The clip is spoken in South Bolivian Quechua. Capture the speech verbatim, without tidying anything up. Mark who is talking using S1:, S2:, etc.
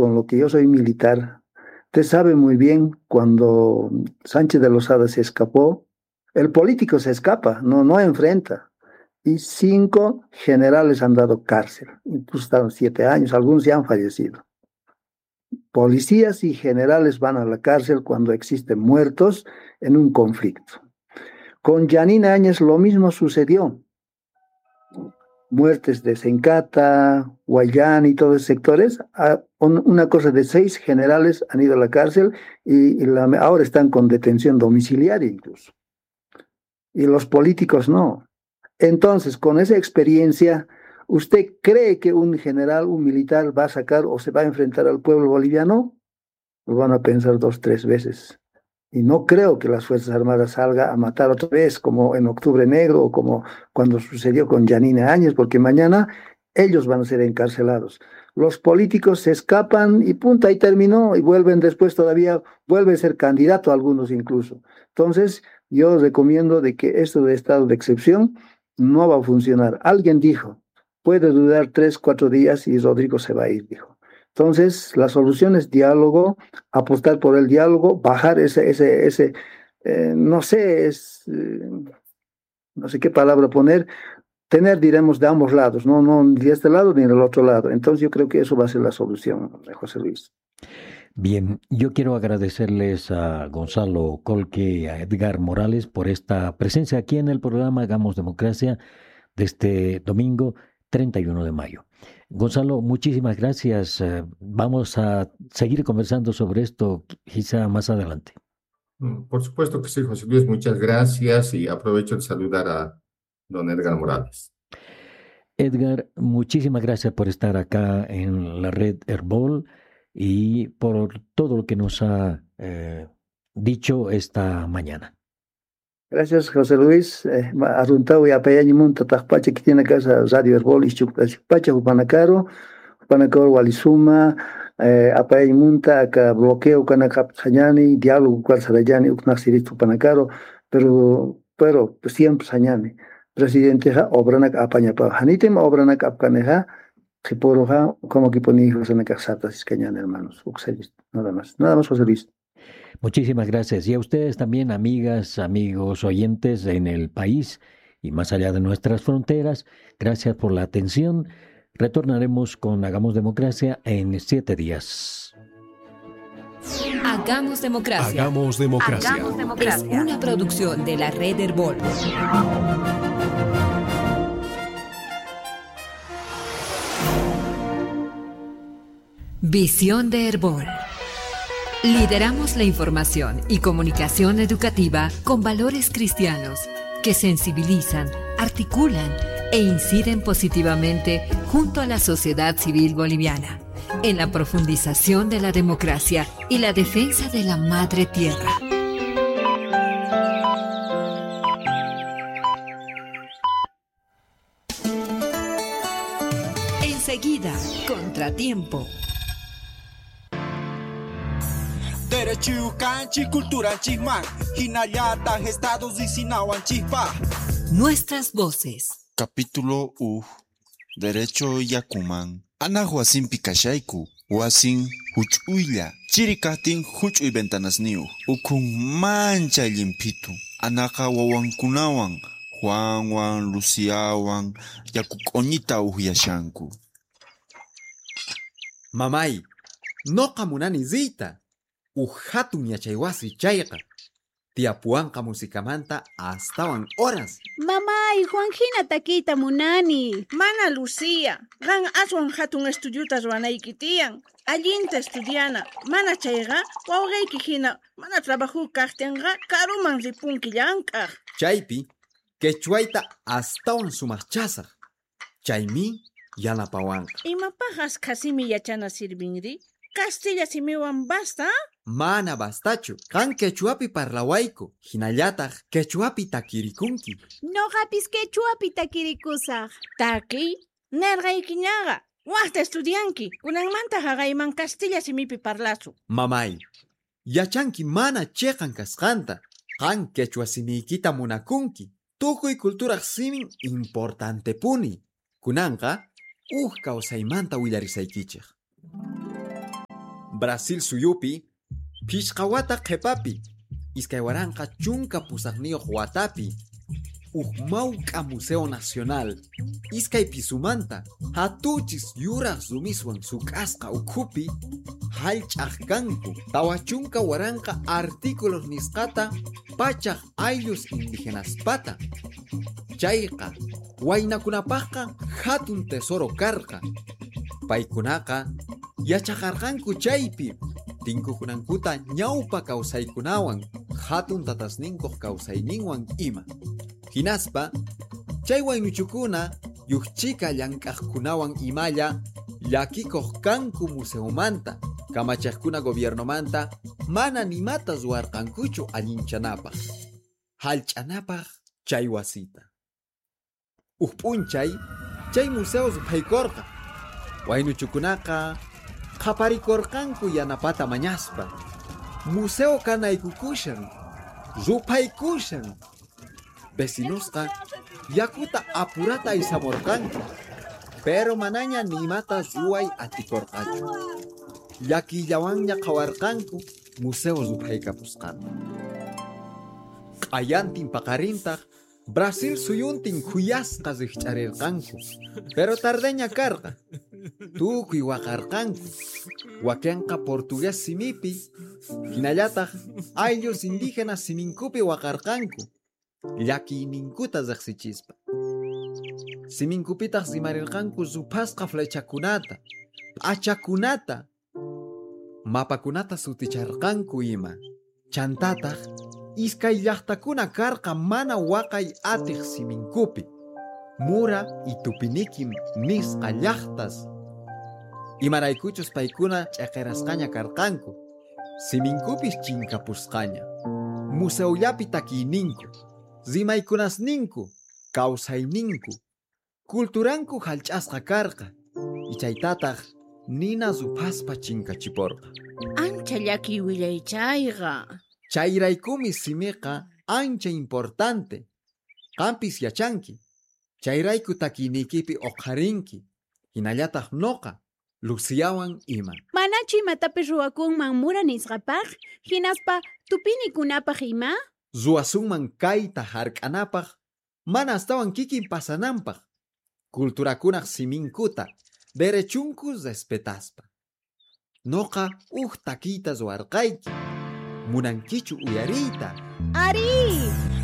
S1: con lo que yo soy militar, usted sabe muy bien cuando Sánchez de Lozada se escapó, el político se escapa, no, no enfrenta. Y cinco generales han dado cárcel, incluso estaban siete años, algunos ya han fallecido. Policías y generales van a la cárcel cuando existen muertos en un conflicto. Con Yanina Áñez lo mismo sucedió. Muertes de Sencata, Guayán y todos esos sectores, una cosa de seis generales han ido a la cárcel y, y la, ahora están con detención domiciliaria incluso. Y los políticos no. Entonces, con esa experiencia, ¿usted cree que un general, un militar va a sacar o se va a enfrentar al pueblo boliviano? Lo van a pensar dos, tres veces. Y no creo que las Fuerzas Armadas salgan a matar otra vez, como en Octubre Negro o como cuando sucedió con Yanina Áñez, porque mañana ellos van a ser encarcelados. Los políticos se escapan y punto, ahí terminó, y vuelven después todavía, vuelven a ser candidato algunos incluso. Entonces, yo recomiendo de que esto de estado de excepción no va a funcionar. Alguien dijo, puede durar tres, cuatro días y Rodrigo se va a ir, dijo. Entonces, la solución es diálogo, apostar por el diálogo, bajar ese, ese, ese, eh, no sé, es, eh, no sé qué palabra poner, tener, diremos, de ambos lados, no, no, ni de este lado ni del otro lado. Entonces, yo creo que eso va a ser la solución, José Luis.
S2: Bien, yo quiero agradecerles a Gonzalo Colque y a Edgar Morales por esta presencia aquí en el programa Hagamos Democracia de este domingo treinta y uno de mayo. Gonzalo, muchísimas gracias. Vamos a seguir conversando sobre esto quizá más adelante.
S3: Por supuesto que sí, José Luis, muchas gracias y aprovecho de saludar a don Edgar Morales.
S2: Edgar, muchísimas gracias por estar acá en la red Herbol y por todo lo que nos ha eh, dicho esta mañana.
S1: Gracias, José Luis. Eh, Arruntau y apayañimunta tajpacha que tiene casa Radio Herbol y Pacha Jupanacaro, Jupanacaro Walisuma, eh, apayañimunta acá bloqueo canacap sañani, diálogo cual sarayani, uknaxirit Jupanacaro, pero, pero siempre sañani. Presidente ja obranak apañapa, hanitem obranak apcaneja, jiporoja, como que pone hijos en la casa, iscañan, hermanos, nada más, nada más, José Luis.
S2: Muchísimas gracias. Y a ustedes también, amigas, amigos, oyentes en el país y más allá de nuestras fronteras, gracias por la atención. Retornaremos con Hagamos Democracia en siete días.
S4: Hagamos Democracia.
S5: Hagamos Democracia.
S4: Hagamos Democracia. Es una producción de la red Herbol. Visión de Herbol. Lideramos la información y comunicación educativa con valores cristianos que sensibilizan, articulan e inciden positivamente junto a la sociedad civil boliviana en la profundización de la democracia y la defensa de la madre tierra. Enseguida, Contratiempo.
S6: Derecho canchi cultura chisman, hinayata estados y sinawan chispa.
S4: Nuestras voces.
S7: Capítulo U. Derecho Yakuman. Ana huasin pikashayku, huasin huch'uylla, chiri kajtin huch'uy ventanasniyuq, ukhun manchay llimphitu. Anaqa wawankunawan, Juanwan, Luciawan, yaku q'uñita uhyashanku.
S8: Mamay, noqa munani riyta. Uj hatun yachaywasi chayqa. Tiyapuwanqa musikamanta astawan horas.
S9: Mamay, Juan hina takiyta munani.
S10: Mana Lucía, qan aswan hatun estudiuta ruwanayki tiyan. Allinta estudiana. Mana chayqa wawqiyki hina mana trabajo kaqtinqa karuman ripunki llank'aq.
S8: Chaypi quechuayta astawan sumaqchasaq. Chaymi yanapawanqa.
S10: Imapaq askha simi yachana sirvinri? Castilla simiwan basta?
S8: Mana bastachu. Qan quechuapi parlawayku. Hinallataq quechuapi takirikunki.
S9: Noqapis quechuapi takirikusaq.
S10: Takiy? Nerqaykiñaqa. Waqta estudianki. Kunanmanta haqayman castilla simipi parlasu.
S8: Mamay, yachanki mana chiqan kasqanta. Qan quechua simiykita munakunki. Tukuy culturaq simin importantepuni. Kunanqa uj kawsaymanta willarisaykichik. Brasil suyupi, phishqa wata qhepapi, iskay waranqa chunka pusaqniyuq watapi, uj mawk'a Museo Nacional, iskay pisumanta, hatuchis yuraq rumiswan suk'asqa ukhupi, hallch'aq kanku tawa chunka waranqa artículos nisqata pachaq ayllus indigenaspata. Chayqa waynakunapaqqa hatun tesoro karqa. Paykunaqa yachaqarqanku chaypi tinkukunankuta ñawpa kawsaykunawan hatun tatasninkuq kawsayninwan ima. Hinaspa chay waynuchukuna yukchika llank'aqkunawan imalla llakikuq kanku museomanta kamachaqkuna gobiernomanta mana nimata ruwarqankuchu allinchanapaq hallch'anapaq chay wasita. Uj p'unchay chay museo ruphaykurqa. Waynuchukunaqa qhaparikurqanku yanapata mañaspa. Museo kanaykukushan, ruphaykushan. Vecinosqa yakuta apurata aysamurqanku, pero manaña nimata ruway atikurqachu. Llakillawanña qhawarqanku museo ruphaykapusqanta. Q'ayantin paqarintaq Brasil suyuntin khuyasqa riqch'arirqanku, pero tardeña karqa. Tukuy waqarqanku. Wakinqa portugués simipi, hinallataq ayllus indígenas siminkupi waqarqanku, llakiyninkuta riqsichispa. Siminkupitaq rimarirqanku ruphasqa flechakunata, p'achakunata, mapakunata suticharqanku ima. Chantataq iskay llaqtakuna karqa mana waqay atiq siminkupi, Mura y Tupiniquim nisqa llaqtas. Imaraykuchus paykuna ch'aqirasqaña karqanku, siminkupis chinkapusqaña. Museollapi takiyninku, rimaykunasninku, kawsayninku, kulturanku hallch'asqa karqa, ichaytataq nina ruphaspa chinkachiporqa.
S10: Ancha llakiy willay chayqa.
S8: Chayraykumi simiqa ancha importante. Qampis yachanki. Chayrayku takiyniykipi uqharinki. Hinallataq noqa, Luciawan ima.
S9: Manachu imatapis ruwakunman mura nisqapaq, hinaspa tupinikunapaq ima?
S8: Ruwasunman kayta hark'anapaq, mana astawan kikin pasananpaq. Kulturakunaq siminkuta, derechunku respetaspa. Noqa uj takiyta ruwarqayki. Munankichu uyariyta?
S9: Ari!